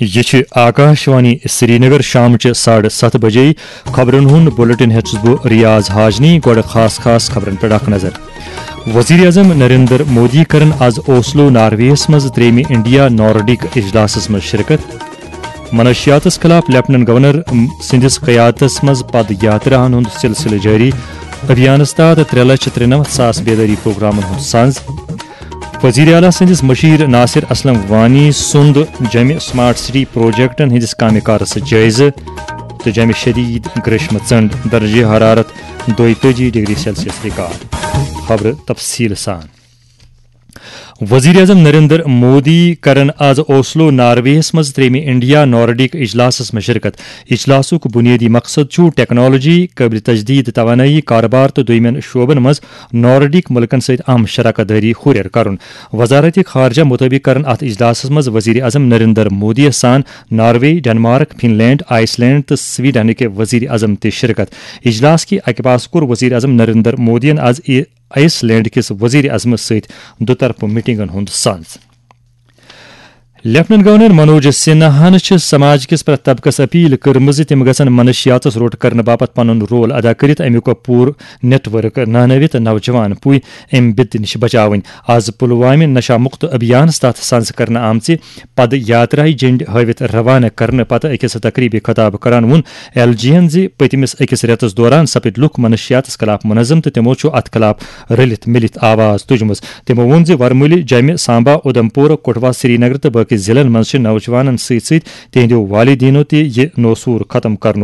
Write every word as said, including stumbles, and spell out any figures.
یہِ چھِ آکاشوانی سرینگر۔ شامچہِ ساڑٕ ستھ بجے خبرن ہُنٛد بلیٹن ہیٚتھ چھُس بہٕ ریاض حاجنی۔ گۄڈٕ خاص خاص خبرن پٮ۪ٹھ اکھ نظر۔ وزیر اعظم نریندر مودی کرن آز اوسلو نارویس منٛز ترٛیٚیمہِ انڈیا نارڈک اجلاسس منٛز شرکت۔ منشیاتس خلاف لیفٹننٹ گورنر سٕنٛدِس قیادتس منٛز پد یاتراہن ہُنٛد سلسلہٕ جٲری۔ ابھیانس تحت ترٛےٚ لچھ ترٛنمتھ ساس بیدٲری پروگرامن ہُنٛد سنز۔ وزیر اعلیٰ سٕنٛدِس مشیر ناصر اسلم وانی سُنٛد جمہِ سمارٹ سٹی پروجیکٹن ہٕنٛدِس کامہِ کارس جٲیزٕ تہٕ جمہِ شدید گریشمہٕ ژنڈ، درجہ حرارت دۄیتٲجی ڈگری سیلسیس ریکارڈ۔ خبرٕ تفصیٖل سان۔ وزیر اعظم نریندر مودی کرن آز اوسلو نارویس منٛز ترٛیٚیمہِ انڈیا نارڈک اجلاسس منٛز شرکت۔ اجلاسُک بنیٲدی مقصد چھُ ٹیکنالوجی، قٲبلِ تجدید توانٲیی، کارٕبار تہٕ دوٚیمٮ۪ن شعبن منٛز نارڈک مُلکن سۭتۍ اہم شراکت دٲری ہُرٮ۪ر کرُن۔ وزارت خارجہ مُطٲبِق کرن اتھ اجلاسس منٛز وزیر اعظم نریندر مودی یس سان ناروے، ڈنمارک، فن لینڈ، آئس لینڈ تہٕ سویڈنٕکۍ وزیر اعظم تہِ شرکت۔ اجلاس کہِ اکہِ پاسہٕ کوٚر وزیر اعظم نریندر مودیَن آز ای-، آئس لینڈ کِس وزیر اعظمس سۭتۍ دُطرفہٕ میٹنگن ہُنٛد سنز۔ لیفٹننٹ گورنر منوج سنہاہن چھِ سماج کِس پرٛٮ۪تھ طبقس اپیل کٔرمٕژ زِ تِم گژھن منشیاتس روٚٹ کرنہٕ باپتھ پنُن رول ادا کٔرِتھ امیُک پوٗرٕ نیٹ ورک نانٲوِتھ نوجوان پُے امہِ بدِ نِش بچاوٕنۍ۔ آز پلوامہِ نشہ مکت ابھیانس تحت سنز کرنہٕ آمژِ پد یاتراہہِ جنڈ ہٲوِتھ روانہٕ کرنہٕ پتہٕ أکِس تقریبہِ خطاب کران ووٚن ایل جی ہن زِ پٔتمِس أکِس رٮ۪تس دوران سپٕدۍ لُکھ منشیاتس خلاف منظم تہٕ تِمو چھُ اتھ خلاف رٔلِتھ مِلِتھ آواز تُجمٕژ۔ تِمو ووٚن زِ ورمُلہِ، جمہِ، سامبا، اُدھمپور، کٹھوا، سرینگر تہٕ باقی ضلعن منٛز چھِ نوجوانن سۭتۍ سۭتۍ تِہنٛدیو والدینو تہِ یہِ نوسوٗر ختم کرنُک